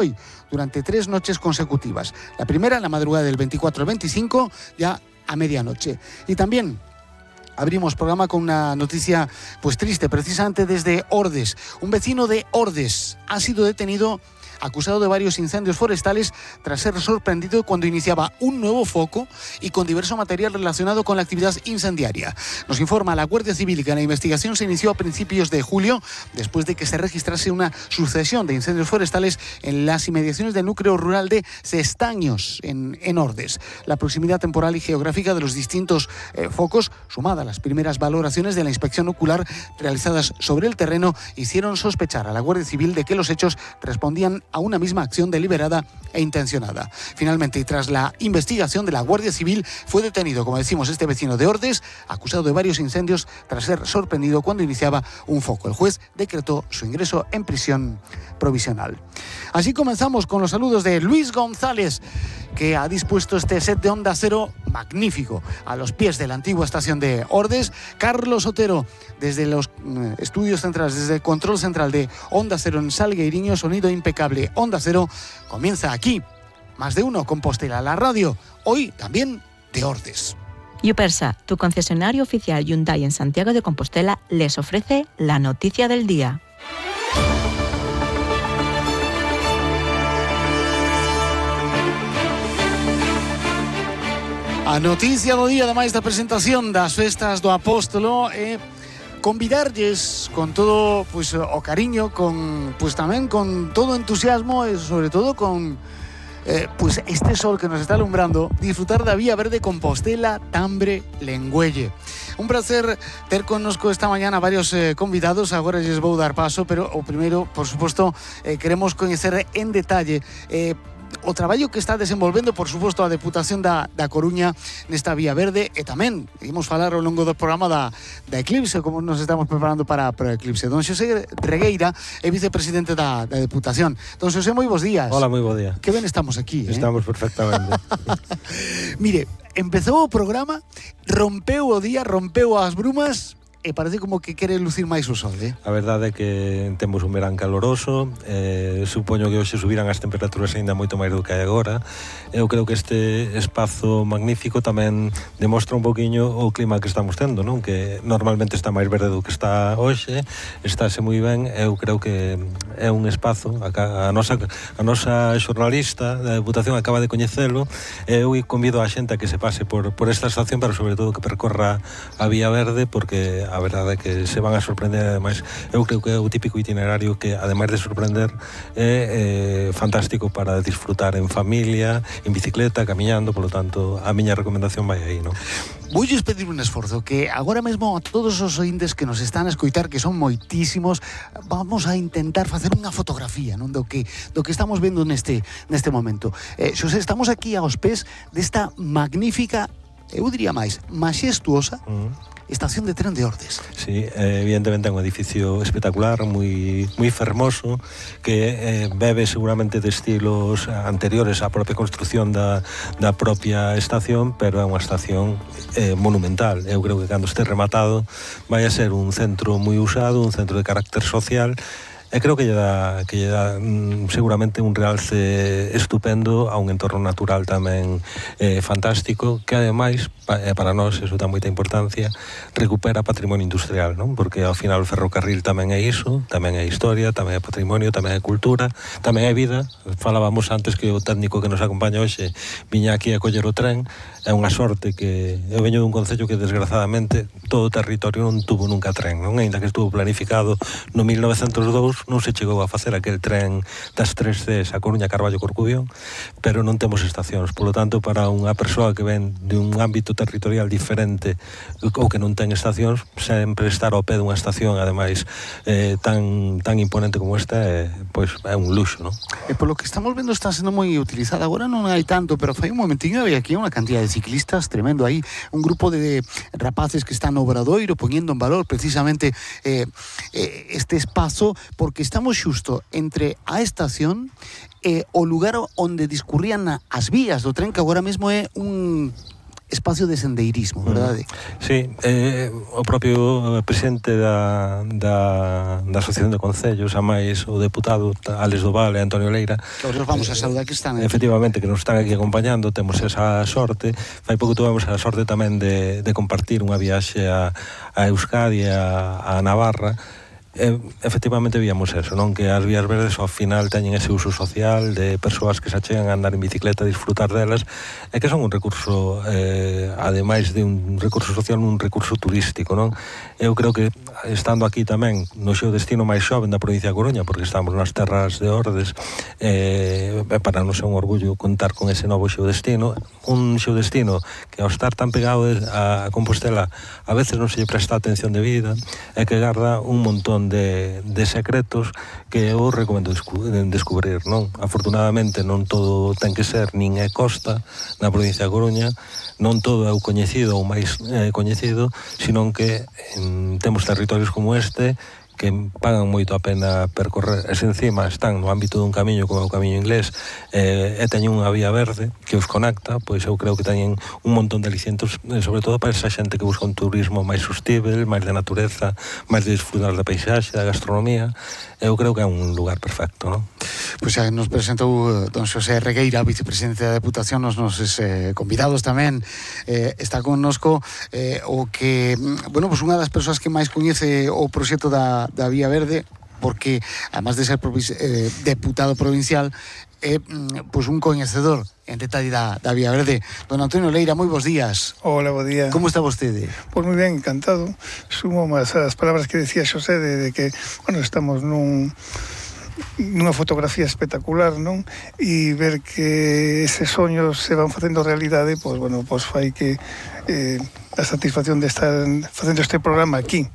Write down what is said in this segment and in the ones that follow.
hoy durante 3 noches consecutivas. La primera en la madrugada del 24 al 25, ya a medianoche. Y también abrimos programa con una noticia pues triste, precisamente desde Ordes. Un vecino de Ordes ha sido detenido acusado de varios incendios forestales tras ser sorprendido cuando iniciaba un nuevo foco y con diverso material relacionado con la actividad incendiaria. Nos informa la Guardia Civil que la investigación se inició a principios de julio después de que se registrase una sucesión de incendios forestales en las inmediaciones del núcleo rural de Cestaños, en Ordes. La proximidad temporal y geográfica de los distintos focos, sumada a las primeras valoraciones de la inspección ocular realizadas sobre el terreno, hicieron sospechar a la Guardia Civil de que los hechos respondían a una misma acción deliberada e intencionada. Finalmente, y tras la investigación de la Guardia Civil, fue detenido, como decimos, este vecino de Ordes, acusado de varios incendios tras ser sorprendido cuando iniciaba un foco. El juez decretó su ingreso en prisión provisional. Así comenzamos con los saludos de Luis González, que ha dispuesto este set de Onda Cero magnífico a los pies de la antigua estación de Ordes. Carlos Otero, desde los estudios centrales, desde el control central de Onda Cero en Salgueiriño, sonido impecable. Onda Cero comienza aquí, Más de Uno, Compostela, la radio, hoy también de Ordes. Yupersa, tu concesionario oficial Hyundai en Santiago de Compostela, les ofrece la noticia del día. A noticia do día, ademais da presentación das festas do Apóstolo, convidarlles con todo pues, o cariño, con pues tamén con todo entusiasmo e sobre todo con pues este sol que nos está alumbrando, disfrutar da Vía Verde Compostela, Tambre, Lengüelle. Un placer ter connosco esta mañana varios convidados. Agora lles vou dar paso, pero o primeiro, por suposto, queremos coñecer en detalle o traballo que está desenvolvendo, por suposto, a Deputación da Coruña nesta Vía Verde, e tamén imos falar ao longo do programa da Eclipse, como nos estamos preparando para o Eclipse. Don Xosé Regueira é vicepresidente da Deputación. Don Xosé, moi bons días. Hola, moi bo día. Que ben estamos aquí. Estamos perfectamente. Mire, empezou o programa, rompeu o día, rompeu as brumas, e parece como que quere lucir máis o sol, A verdade é que temos un verán caloroso, supoño que hoxe subirán as temperaturas aínda moito máis do que hai agora. Eu creo que este espazo magnífico tamén demostra un poquinho o clima que estamos tendo, non? Que normalmente está máis verde do que está hoxe, estáse moi ben. Eu creo que é un espazo, a nosa xornalista da Deputación acaba de coñecelo, e eu convido a xente a que se pase por esta estación, pero sobre todo que percorra a Vía Verde, porque a verdade é que se van a sorprender. Ademais, eu creo que é o típico itinerario que, ademais de sorprender, é fantástico para disfrutar en familia, en bicicleta, camiñando. Polo tanto, a miña recomendación vai aí, non? Voulles pedir un esforzo, que agora mesmo a todos os ointes que nos están a escoitar, que son moitísimos, vamos a intentar facer unha fotografía, non, do que estamos vendo neste momento. Xosé, estamos aquí aos pés desta magnífica, eu diría máis, maxestuosa estación de tren de Ordes. Sí, evidentemente é un edificio espectacular, moi fermoso, que bebe seguramente de estilos anteriores á propia construción da propia estación, pero é unha estación monumental. Eu creo que cando este rematado vai a ser un centro moi usado, un centro de carácter social, e creo que lle dá seguramente un realce estupendo a un entorno natural tamén fantástico, que ademais para nós, eso dá moita importancia, recupera patrimonio industrial, non? Porque ao final o ferrocarril tamén é iso, tamén é historia, tamén é patrimonio, tamén é cultura, tamén é vida. Falábamos antes que o técnico que nos acompaña hoxe viña aquí a coller o tren. É unha sorte que eu veño dun concello que desgrazadamente todo o territorio non tuvo nunca tren, non? Ainda que estuvo planificado no 1902, non se chegou a facer aquel tren das 3 Cs a Coruña, Carballo, Corcubión, pero non temos estacións. Polo tanto, para unha persoa que ven de un ámbito territorial diferente ou que non ten estacións, sempre estar ao pé dunha estación, ademais tan imponente como esta, pois é un luxo, non? E polo que estamos vendo está sendo moi utilizada. Agora non hai tanto, pero fai un momentiño había aquí unha cantidad de ciclistas tremendo aí, un grupo de rapaces que están no Obradoiro poñendo en valor precisamente este espazo, porque estamos xusto entre a estación e o lugar onde discurrían as vías do tren, que agora mesmo é espacio de sendeirismo, verdade? Sí, o propio presidente da Asociación de Concellos, a máis o deputado Álex Doval e Antonio Leira, Que os vamos a saludar que están aquí. efectivamente, que nos están aquí acompañando, temos esa sorte. Fai pouco tuvemos a sorte tamén de compartir unha viaxe a Euskadi e a Navarra. Efectivamente víamos eso, non? Que as vías verdes ao final teñen ese uso social de persoas que se achegan a andar en bicicleta, a disfrutar delas, e que son un recurso, ademais de un recurso social, un recurso turístico, non? Eu creo que estando aquí tamén no xeo destino máis xoven da provincia de Coruña, porque estamos nas terras de Ordes, para non ser un orgullo contar con ese novo xeo destino, un xeo destino que ao estar tan pegado a Compostela a veces non se lle presta atención debida, e que garda un montón de secretos que eu recomendo descubrir, non? Afortunadamente non todo ten que ser nin é costa na provincia de Coruña, non todo é o coñecido ou máis coñecido, senón que temos territorios como este que pagan moito a pena percorrer, e se encima están no ámbito dun camiño como é o camiño inglés, e teñen unha vía verde que os conecta, pois eu creo que teñen un montón de alicientos, sobre todo para esa xente que busca un turismo máis sustível, máis de natureza, máis de disfrutar da paisaxe, da gastronomía. Eu creo que é un lugar perfecto, non? Pois xa nos presentou don Xosé Regueira, vicepresidente da Deputación, nos nosos convidados tamén. Está connosco o que, bueno, pues unha das persoas que máis coñece o proxecto da Vía Verde, porque, además de ser deputado provincial, é pues un coñecedor en detalle da Vía Verde. Don Antonio Leira, moi bons días. Hola, bo día. Como está vostede? Pois moi ben, encantado. Sumo máis as palabras que decía Xosé de que, bueno, estamos nunha fotografía espectacular, non? E ver que eses soños se van facendo realidade, pois, bueno, pois fai que a satisfacción de estar facendo este programa aquí,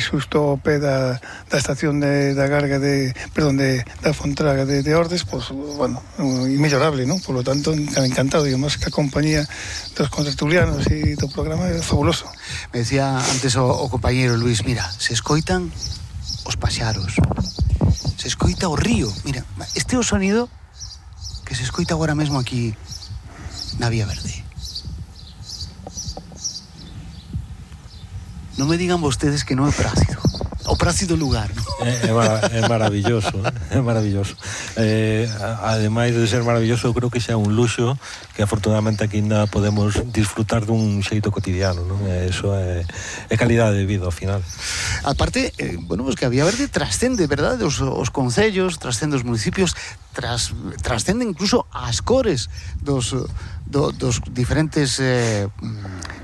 xusto ao pé da estación da Garga da Fontraga de Ordes, pois, bueno, inmellorable, non? Por lo tanto, encantado, digamos, que a compañía dos contertulianos e do programa é fabuloso. Me decía antes o compañeiro Luis, mira, se escoitan os paxaros, se escoita o río, mira, este é o sonido que se escoita agora mesmo aquí na Vía Verde. Non me digan vostedes que non é prácido. O prácido lugar, non? É maravilloso, é maravilloso. Ademais de ser maravilloso, eu creo que xa é un luxo que afortunadamente aquí ainda podemos disfrutar dun xeito cotidiano, non? Eso é calidade de vida ao final. Aparte, bueno, pues que a Vía Verde trascende, verdade? Os concellos, trascende os municipios, trascende incluso as cores dos diferentes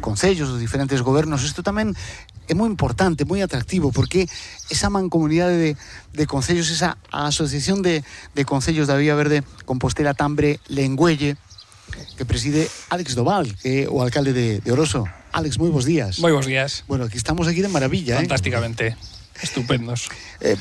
concellos, dos diferentes gobernos. Isto tamén é moi importante, moi atractivo, porque esa mancomunidade de concellos, esa asociación de concellos da Vía Verde, Compostela, Tambre, Lengüelle, que preside Álex Doval, que é o alcalde de Oroso. Álex, moi bons días. Moi bons días. Bueno, aquí estamos aquí de maravilla. Fantásticamente. Estupendos.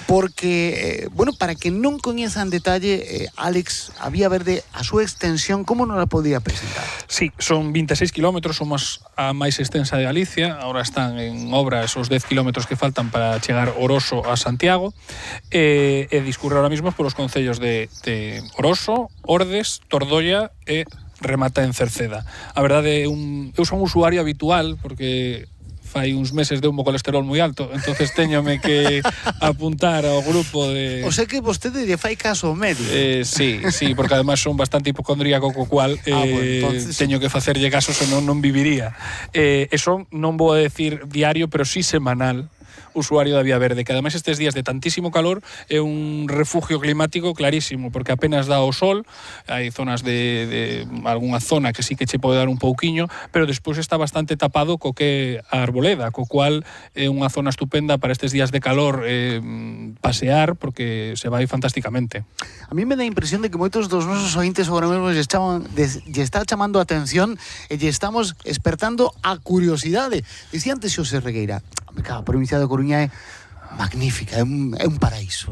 Porque, bueno, para que non coñeza en detalle, Álex, a Vía Verde, a súa extensión, como non la podía presentar? Sí, son 26 kilómetros, somos a máis extensa de Galicia, ahora están en obra esos 10 kilómetros que faltan para chegar Oroso a Santiago, e discurre ahora mismo polos concellos de Oroso, Ordes, Tordoia e remata en Cerceda. A verdade, eu son un usuario habitual, porque fai uns meses deu un colesterol moi alto, entonces teñome que apuntar ao grupo de... O sea que vostede lle fai caso ao médico. Sí, porque además son bastante hipocondríaco, co cual bueno, entonces... teño que facerlle caso, senón non viviría. Eso non vou a decir diario, pero sí semanal, usuario da Vía Verde, que ademais estes días de tantísimo calor é un refugio climático clarísimo, porque apenas dá o sol, hai zonas de algunha zona que sí que che pode dar un pouquiño, pero despois está bastante tapado co que a arboleda, co cual é unha zona estupenda para estes días de calor pasear, porque se vai fantásticamente. A mí me dá a impresión de que moitos dos nosos ointes agora mesmo lle está chamando a atención e lle estamos espertando a curiosidade. Dicía antes Xosé Regueira, a provincia de Coruña é magnífica, é un paraíso.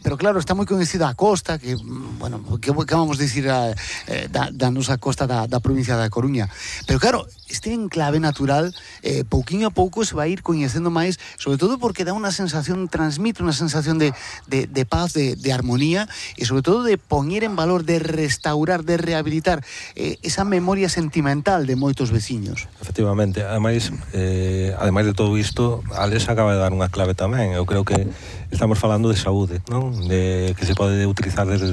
pero claro, está moi coñecida a costa, que, bueno, que vamos dicir da nosa costa da provincia da Coruña. Pero claro, este enclave natural, pouquiño a pouco se vai ir coñecendo máis, sobre todo porque dá unha sensación, transmite unha sensación de paz, de armonía, e sobre todo de poñer en valor, de restaurar, de rehabilitar esa memoria sentimental de moitos veciños. Efectivamente, ademais de todo isto, Alex acaba de dar unha clave tamén. Eu creo que estamos falando de saúde, non? De que se pode utilizar desde